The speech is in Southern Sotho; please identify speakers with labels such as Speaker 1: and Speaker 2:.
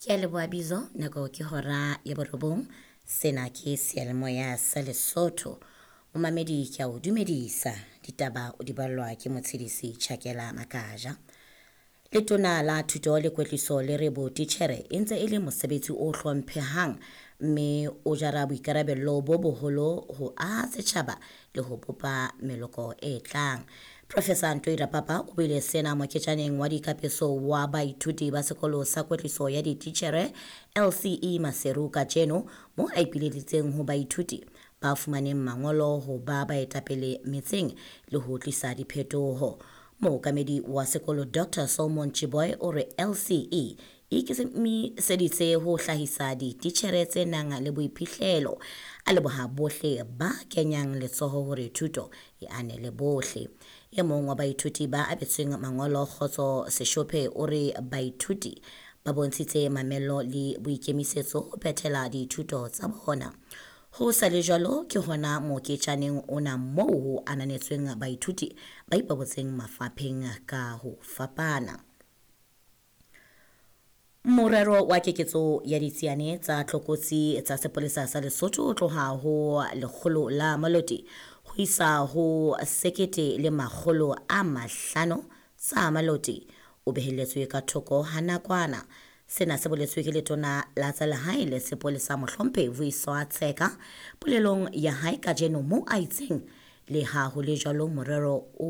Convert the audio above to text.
Speaker 1: Ke a leboha Bizo, nako ke hora ya borobong. Sena ke seyalemoya sa Lesotho. Momamedi ke a o dumedisa. Ditaba o di ballwa ke motshedisi Chakela Makaja. Letona la Thuto le Kwetliso le re botitjhere e ntse e le mosebetsi o hlomphehang mme o jara boikarabello bo boholo ho aha setjhaba le ho bopa meloko e tlang. Professor Ntoi Rapapa o buile sena moketjaneng wa dikapeso wa baithuti ba sekolo sa kwetliso ya dititjhere LCE Maseru kajeno mo a ipileditseng ho baithuti ba fumaneng mangolo ho ba baetapele metseng le ho tlisa diphetoho. Mookamedi wa sekolo Dr Solomon Chiboy o re LCE e ikemiseditse ho hlahisa dititjhere tse nang le boiphihlelo. A leboha bohle ba kenyang letsoho hore thuto e anele bohle. E mong wa baithuti ba abetsweng mangolo Kgotso Seshophe o re baithuti ba bontshitse mamello le boikemisetso ho phethela dithuto tsa bona. Ho sa le jwalo ke hona moketjaneng ona moo ho ananetsweng baithuti ba ipabotseng mafapheng ka ho fapana. Morero wa keketso ya ditsiane tsa tlokotsi tsa sepolesa sa Lesotho ho tloha ho lekgolo la Maloti ho isa ho 1500 tsa Maloti o behelletswe ka thoko ha nakwana. Sena se boletswe ke letona la tsa lehae le sepolesa mohlomphehi Vuyiswa Tsheka polelong ya hae kajeno mo a itseng le ha ho le jwalo morero o